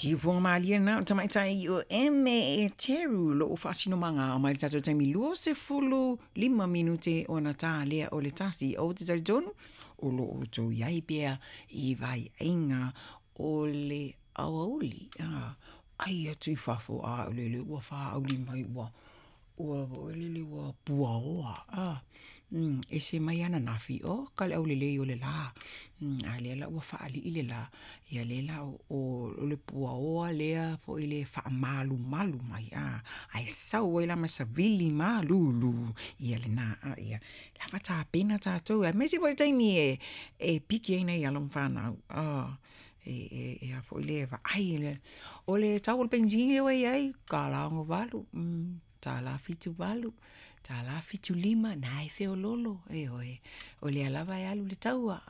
Siufoga malie lena o le tamaitai o Eme Eteru o loo faasinomaga mai le tatou taimi 25 minute ona ta lea o le 1. Ou te talitonu o lo o outou i ai pea i vaiaiga o le aoauli, ai atu i fafo a o lele ua faauli mai ua ua foi ua puaoa, ese mai ananafi, oka le aulelei o le la, a lea la ua faalii le la, ia lea la o le puaoa lea foi le faamalumalu mai, ae sau ai la ma savili malulu, ia lena, ia lava tapena tatou aemaise foi le taimi e piki ai nai alo ma fanau, e a foi lea e vaai, o le tau o le penisini lea ua i ai, $1.68, $1.78, $1.75, na e feoloolo, ioe, o lea lava e alu le taua,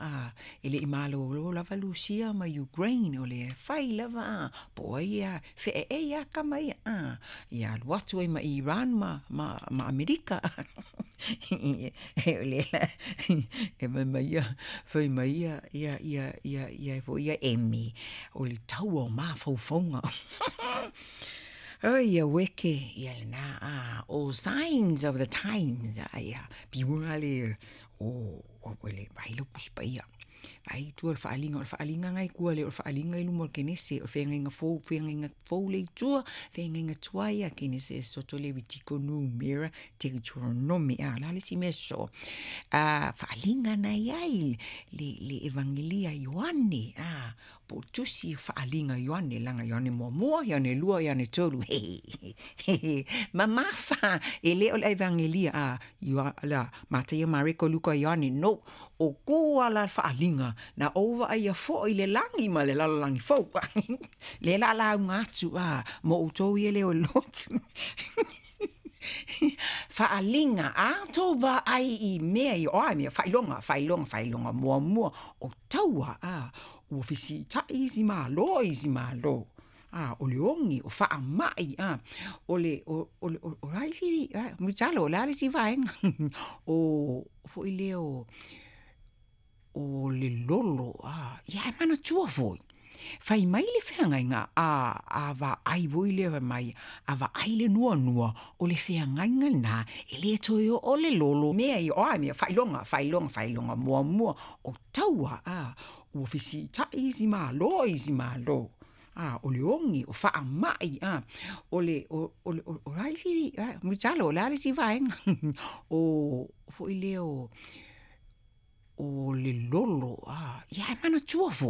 e le i malolo lava Lusia ma Ukraine, o lea e fai lava, po o ai e feaeae lava tama ia, ia alu atu ai ma Iran ma Amerika. O lea la e fai mai ia Eme, o le taua o mafaufauga. Oi aueke, ia lena, o signs of the times, ia, pei lava lea o vaai lau Tusi Paia, vaai i tua i le faaaliga, o le faaaliga lena e i tua e le o le faaaliga i luma o le Kenese, o le feagaiga fou, feagaiga fou lea e i tua, feagaiga tuai ia, Kenese, Esoto, Lewitiko, Numera, Teuteronome. O le a le isi mea sosoo? Faaaliga na e i ai le Evagelia a Ioane, po o Tusi o Faaaliga a Ioane, leaga Ioane 1, Ioane 2, Ioane 3, mamafa, e le o le Evagelia a Mataio, Mareko, Luka, Ioane, no, o tua la le faaaliga na ou vaaia foi le lagi ma le lalolagi fou. Lea o le a lauga atu mo outou ia e le o i le lotu. Faaaliga, a outou vaai i mea ia, o a mea, faailoga, faailoga, faailoga muamua, o taua, ua fesiitai isi Malo i isi Malo, o le ogi, o faamai, o le, o a isi, Mulitalo o le a le isi vaega? O foi lea o le lolo, ia ae manatua foi, fai mai le feagaiga a vaai foi lea fai mai, a vaai le nuanua, o le feagaiga lena, e le toe oo le lolo, mea ia o a mea, faailoga, faailoga, faailoga muamua, o taua, ua fesiitai isi Malo i isi Malo, o le ogi, o faamai, o le, o a isi, Mulitalo o le a le isi vaega? O foi lea o le lolo, ia ae manatua foi.